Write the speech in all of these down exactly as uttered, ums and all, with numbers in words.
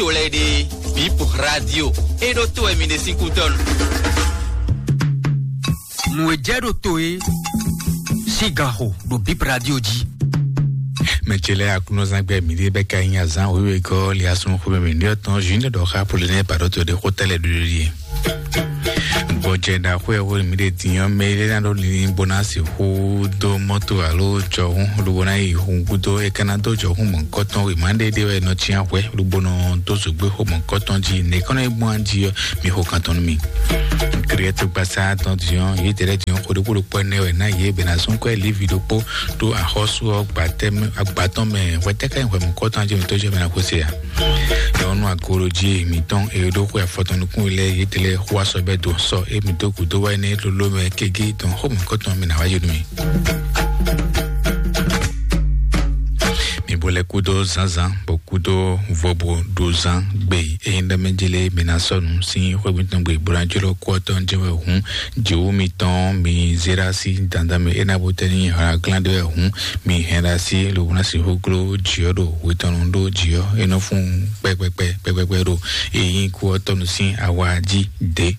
to lɛ́ɛ ɖe, Bip Radio, é ɖó to wɛ mi ɖe sín kútɔ́nu. Nǔ e jɛ ɖo to e sín ganxo ɖo Bip Radio jí. Mɛ ce lɛ́ɛ, Aklúnɔzán gbɛ mǐɖée bɛ́ ka nyí azǎn wěwé gɔ́ li asúnxwé mɛ mǐɖée ɔ́ tɔn Junior ɖɔ xá Polonɛ́ Baɖɔtɔ ɖé xó tɛ́ lɛ́ɛ ɖuɖu ɖíe. Gbɔjɛ ɖaxó e hwenu mǐ ɖe din ɔ́, mɛ e lɛ́ ná ɖó linlin bó ná sixú dó mɔ́to alo jɔhún lobo ná yi hun gúdo, é ka ná dó jɔhún mɔ̌hunkɔtɔn wěma ɖé ɖé wɛ nɔ cyán hwɛ̌ lobo nɔ dó zǒgbé xó mɔ̌hunkɔtɔn jí. Nɛ̌ kɔn nɔ yi gbɔn jí ɔ́, mi xo kan tɔn nú mì. Kriɛtɔgbasá tɔn din ɔ́, yě dɛ́ lɛ́ din ɔ́, xó ɖokpó ɖokpó ɛnɛ wɛ ná yě bɛ ná zɔ́n kwɛ́ Livi ɖokpó ɖó axɔ́sú ɔ́ gbatɛ́ mɛ, agbatɔ́ mɛ. Hwɛtɛ́ ká nyí hwɛ mɔ̌hunkɔtɔn jí mitɔ́ jɛ mɛ ná xwé se a? Nyɔ̌nu agolojí mǐtɔn e ɖó xwe afɔtɔn nukún lɛ́ɛ yětɛn lɛ́ɛ xó asɔ bɛ́ dó sɔ́ émí dó gǔdo wá énɛ́ lóló mɛ kégé dɔn xó mɔ̌hunkɔtɔn mì nǎ wá yi nú mì. Mi bo lɛ́ kúdó zǎnzǎn, bó kúdó vobo ɖo zán gbe. Ényí ɖɔ mɛ jélé mi ná sɔ́ nǔ sín xwé mitɔn gbe bó ná jló kú ɔ́ tɔn jɛ́n wɛ hǔn, jǐwú mitɔn mi zé ɖó así dandan mɛ é ná bó tɛ́ ní hǎn glán ɖé wɛ hǔn, mi hɛn ɖó así lobo ná sixú gló jǐ ɔ́ ɖo hwetɔnnu ɖó jǐ ɔ́ é nɔ fún pɛpɛpɛ pɛpɛpɛ ɖo ényí kú ɔ́ tɔnu sín awa jí dě.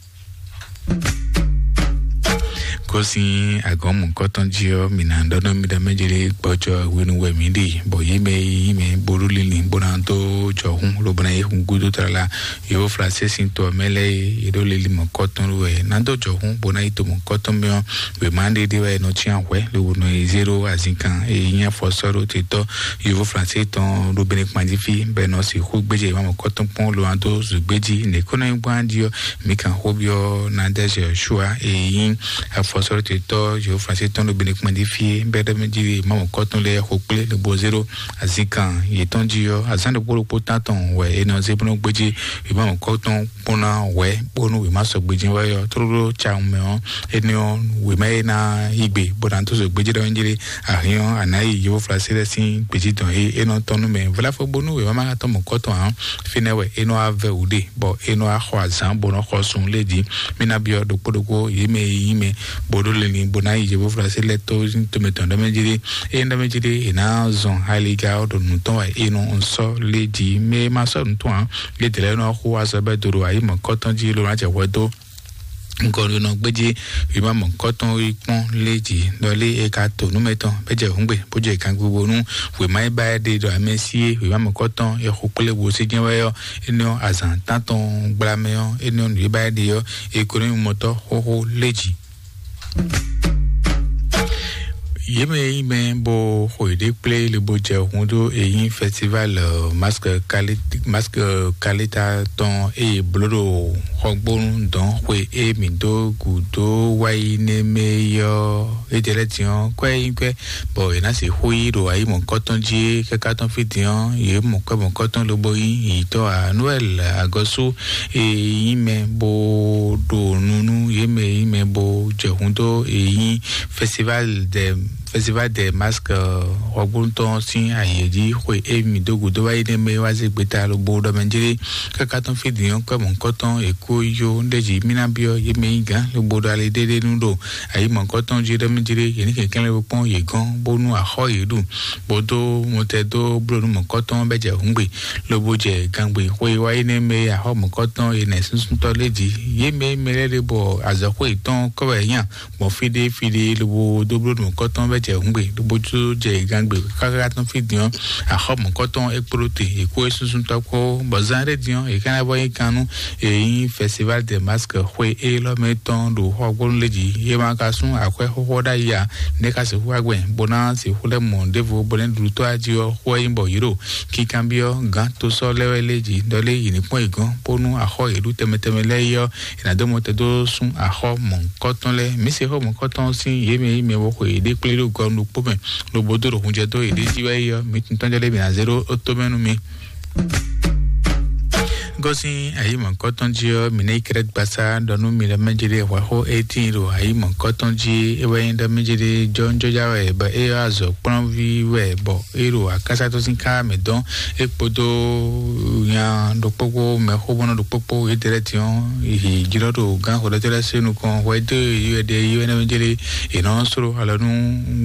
Kó sín agɔ̌n mɔ̌kɔtɔn jí ɔ́, mǐ ná ɖɔ nú mi ɖɔ mɛ jélé gbɔjɔ hwenu wɛ mǐ ɖe, bɔ yě mɛ e nyí mɛ bó ɖó linlin bó ná dó jɔhún lobo ná yi hun gúdo tlala. Yǒ Flansé sín to ɔ́ mɛ lɛ́ɛ e yě ɖó linlin mɔ̌kɔtɔn wɛ ná dó jɔhún bó ná yi to mɔ̌kɔtɔn mɛ ɔ́, wěma ɖé ɖé wɛ nɔ cyán hwɛ̌ lobo nɔ yi zé ɖó azinkan e nyí afɔsɔ́ɖótetɔ́ Yǒ Flansé tɔn ɖo Benɛkpan jí fí, bɔ è nɔ sixú gbéjé wěma mɔ̌kɔtɔn kpɔ́n lo ná dó zǔgbéjí. Nɛ̌ kó ná nyí gbɔn jí ɔ́, mǐ kan xó byɔ́ Nadège Joshua e nyí afɔsɔ́ɖótetɔ́ Yǒ Flansé tɔn ɖo Benɛkpan jí fí é, bɔ é ɖɔ mɛ jí wěma mɔ̌kɔtɔn lɛ́ɛ xo kplé lobo zé ɖó azinkan yětɔn jí ɔ́, azǎn ɖokpó ɖokpó tán tɔn wɛ è nɔ zé bó nɔ gbéjé wěma mɔ̌kɔtɔn kpɔ́n ná hwɛ̌ bónú wěma sɔgbe jɛ́n wɛ ɔ́, tlóló cawun mɛ ɔ́, énɛ́ ɔ́, wěma e ná yí gbe bó ná dó zǒgbéjí ɖɔ njí lé, ahín ɔ́, a nǎ yi Yǒ Flansé lɛ́ɛ sín gbějí dɔn e é nɔ tɔn nú mɛ. Vlafo bónú wěma ma ka tɔn mɔ̌kɔtɔn ǎ, fínɛ́ wɛ é nɔ wá vɛ́ wǔ ɖe, bɔ é nɔ wá xɔ azǎn bó nɔ xɔ sun lé jí. Mí ná byɔ́ ɖokpó ɖokpó yě mɛ e nyí mɛ bó ɖó linlin bó ná yi Yǒ Flansé lɛ́ɛ tó tomɛ tɔn ɖɔ mɛ jí lé. Ényí ɖɔ mɛ jí ɖé è nǎ zɔn aliga ɔ́ ɖo nǔ tɔn wɛ è nɔ sɔ́ lé jí. Mɛ e ma sɔ́ nǔ tɔn ǎ, yě dlɛ́ nɔ xo azɔ̌ bɛ́ do ɖo ayǐ mɔ̌kɔtɔn jí lobo ná jɛ hwɛ dó ŋkɔ ɖo nɔ gbéjé wěma mɔ̌kɔtɔn yi kpɔ́n lé jí. Ɖɔ lé e ka to nǔ mɛtɔn bɛ́ jɛ hǔngbè bó jɛ gangbogbo nú wěma e ba é ɖe ɖɔ amɛ sí é wěma mɔ̌kɔtɔn e xo kplé wo sí jɛ́n wɛ ɔ́, énɛ́ ɔ́ azǎn tántɔn gblamɛ ɔ́, énɛ́ ɔ́ nǔ e ba é ɖe ɔ́, e ko nɔ nyí mɔtɔ́ xóxó lé jí. Yě mɛ e nyí mɛ bó xo yěɖée kplé lobo jɛ hun dó e nyí festival, euh, masque quali-, masque qualité tɔn e bló ɖo xɔgbónu dɔn xwe e mǐ dó gǔdo wá yi nɛ́ mɛ é ɔ́, é jɛ lɛ́ din ɔ́, kwɛ́ é nyí kwɛ́ bɔ è nǎ sixú yí ɖo ayǐ mɔ̌kɔtɔn jí é. Káká tɔn fí din ɔ́, yě mɔ kwɛ́ mɔ̌kɔtɔn lobo nyí yǐtɔ́ Noël Agɔsú e nyí mɛ bó ɖo nu nú yě mɛ e nyí mɛ bó jɛ hun dó e nyí festival de festival de masque, euh, xɔgbónu tɔn sín ayǐ jí xwe e mǐ dó gǔdo wá yi nɛ́ mɛ wá zé gbeta lobo ɖɔ mɛ jlé. Káká tɔn fí din ɔ́, kwɛ́ mɔ̌kɔtɔn è kó yó ɖ'é jí mí ná byɔ́ yě mɛ nyí gǎn lobo ɖɔ ali ɖéɖé nú ɖo ayǐ mɔ̌kɔtɔn jí ɖɔ mɛ jlé. Yě ní kɛnklɛ́n bo kpɔ́n yě gɔ́n bónú axɔ́ yě ɖu, bó dó mɔtɛ dó bló nú mɔ̌kɔtɔn bɛ́ jɛ hǔngbe lobo jɛ gangbe xwe wá yi nɛ́ mɛ axɔ́ mɔ̌kɔtɔn è nɛ súnsúntɔ́ lé jí. Yě mɛ mɛ lɛ́ɛ ɖe bɔ azɔ̌xwe yětɔn kɔ́ wɛ nya gbɔn fíɖé fíɖé lobo dó bló nǔkɔtɔn bɛ́ jɛ hǔngbe lobo tó jɛ gangbe káká tɔn fí din ɔ́, axɔ́ mɔ̌kɔtɔn é kpló te è kó é súnsúntɔ́ kpó, bɔ zán ɖé din ɔ́ è ká ná vɔ nyí kan nú è nyí festival de masque xwe élɔ́ mɛ tɔn ɖo xɔgbónu lé jí. Yě ma ka sún akwɛ́ xóxó ɖ'ayǐ ǎ, nɛ̌ ka sixú wá gbɛn bó ná sixú lɛ́ mɔ ɖěvo bó nɛ́ ɖuɖu tɔ́ ají ɔ́ xó wɛ nyí bɔ yě ɖo kinkanbyɔ́ gǎn tosɔ́ lɛ́ɛ wɛ lé jí ɖɔ lé yě ní kpɔ́n yě gɔ́n bónú axɔ́ yě ɖu tɛnmɛ tɛnmɛ lɛ́ɛ é ɔ́, è nǎ dó mɔ te dó sún axɔ́ mɔ̌hunkɔtɔn lɛ́ɛ. Mǐ se xó mɔ̌hunkɔtɔn sín yě mɛ e nyí mɛ bó xwe yěɖée kplé ɖo gɔnu ɖokpó mɛ, lobo dó ɖo hunjɛ dó yěɖée jí wɛ é ɔ́, mi tunwun tɔn jɔ lé mǐ ná zé ɖó ó tó mɛ nú mi. Gosín ayǐ mɔ̌kɔtɔn jí ɔ́, mǐ nɛ́ yi kɛ́ɖɛ́ gbasá ɖɔ nú mi ɖɔ mɛjéɖé hwɛxó étín ɖo ayǐ mɔ̌kɔtɔn jí é wɛ nyí ɖɔ mɛjéɖé jɔ́njɔ́já wɛ bɔ é wá azɔ̌ kplɔ́nví wɛ bɔ é ɖo akásá tɔn sín ká mɛ dɔn é kpódó nya ɖokpókpó mɛxóbɔ́nɔ ɖokpókpó yětɛ́ lɛ́ɛ tíɔ́n yi jlɔ́ ɖo gán xɔlɔ́tɔ́ lɛ́ɛ sín nukɔn hwɛ dó yi wɛ ɖe yi wɛ nɛ́ mɛjéɖé è nɔ sló alɔ nú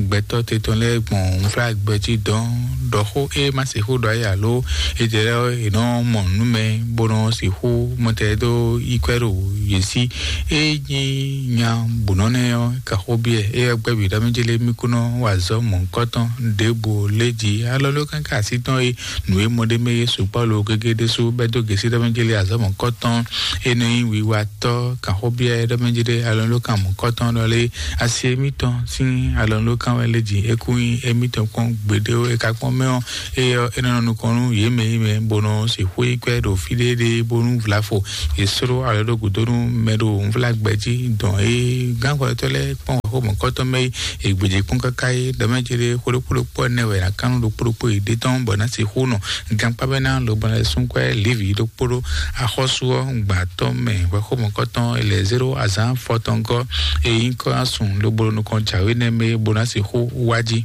gbɛtɔ́ te tɔn lɛ́ɛ gbɔn nflágbɛ jí dɔn ɖɔ xó é má se xó ɖɔ ayé alo é jɛ lɛ è nɔ mɔ nǔ mɛ bó nɔ sixú mɔtɛ dó yi kwɛ ɖo yě sí. É nyí nya bǔnɔ nɛ́ ɔ́, kaxó biɛ é ɔ́ gbɛ́ bǐ ɖɔ mí jélé mí kú nɔ wa azɔ̌ mɔ̌hunkɔtɔn ɖěbǔ lé jí alɔ ló kánká así tɔn é nǔ e mɔ ɖé mɛ é sukpɔ́ lo gégé ɖésú bɛ́ dó gěsí ɖɔ mí jélé azɔ̌ mɔ̌hunkɔtɔn é nɔ nyí wiwatɔ́. Kaxó biɛ ɖɔ mí jélé alɔ ló kan mɔ̌hunkɔtɔn ɖɔ lé asi émítɔn sín alɔ ló kán wɛ lé jí é kú nyí émítɔn kpɔ́n gbeɖé é ka kpɔ́n mɛ ɔ́, é ɔ́ é nɔ nɔ nukɔn nú yě mɛ yi mɛ bó nɔ sixú yi kwɛ ɖo fí ɖé ɖé bónú vlafo yě sló alɔ ɖó gǔdo nú mɛ ɖo nvlágbɛ jí dɔn é gánxɔlɔtɔ́ lɛ́ɛ kpɔ́n wɛxó mɔ̌kɔtɔn mɛ yi è gbějé kpɔ́n káká é ɖɔmɛ́ céɖé xó ɖokpó ɖokpó ɛnɛ wɛ ná kán nú ɖokpó ɖokpó yě ɖe tɔn bɔ ná sixú nɔ gankpá bɛ́ ná lobo ná lɛ́ sún kwɛ lívi ɖokpó ɖó axɔ́sú ɔ́ gbǎtɔ́ mɛ wɛxó mɔ̌kɔtɔn é lɛ zéro azǎn fɔtɔngɔ́ é nyí kɔ́ ná sun lobo nukɔn jǎwe nɛ́ mɛ bó ná sixú wá jí.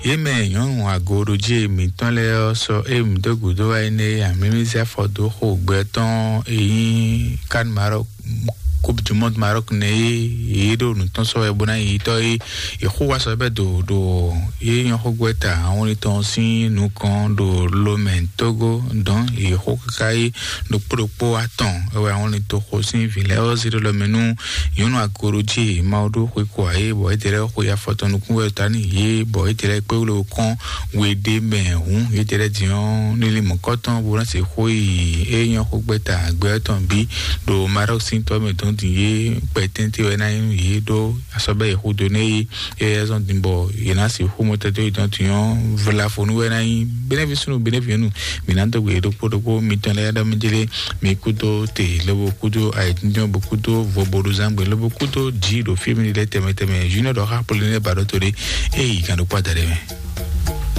Yě mɛ nyɔ̌nu agoɖojí mǐtɔn lɛ́ɛ ɔ́ sɔ́ ée mǐ dó gǔdo wá énɛ́ e amǐmízɛ́ afɔ dó xo gbɛ tɔn e nyí Kan Marɔk, Coupe du Monde Marɔk nɛ́ é yě ɖo nǔ tɔn sɔ́ wɛ bó ná yi tɔ́ é. Yě xo wá sɔ́ bɛ́ do ɖo yě nyɔ́ xó gbɛ́ ta ahɔnlin tɔn sín nukɔn ɖo Lomɛ Tógó dɔn yě xó káká é ɖokpó ɖokpó atɔn é wɛ ahɔnlin toxo sín vǐ lɛ́ɛ ɔ́ zé ɖó lɔmɛ nú nyɔ̌nu agoɖojí Mawu ɖó xwe kɔ ayé bɔ é jɛ lɛ́ xwe afɔtɔn nukún wɛ ta n'i yě bɔ é jɛ lɛ́ kpé wúlò kɔn we ɖé mɛ hǔn yě jɛ lɛ́ din ɔ́ nílí mɔ̌kɔtɔn bó ná se xó yi é nyɔ́ xó gbɛ́ ta gbɛ tɔn bí ɖo Marɔk sín tɔ́ mɛ dɔn din yé kpɛtɛ́ntɛ́ wɛ ná nyí nú yě ɖó asɔ́bɛ́ yě xúdo nɛ́ yé é yɛ zɔn din bɔ yě ná se xó mɔtɛtɔ́ yětɔn din ɔ́ vlafonu wɛ ná nyí bɛnɛvi súnnu bɛnɛvi nyɔ̌nu mǐ ná dó gbe yě ɖokpó ɖokpó mitɔn lɛ́ɛ ɖɔ mí jélé mi kúdó te lobo kúdó ayǐjínjɔ́n bo kúdó voboɖuzángbe lobo kúdó jǐ ɖo fí mi lɛ́ tɛmɛ tɛmɛ junior ɖɔ xá polonɛ́ ba ɖó to ɖé é yi gǎn ɖokpó adaɖé mɛ.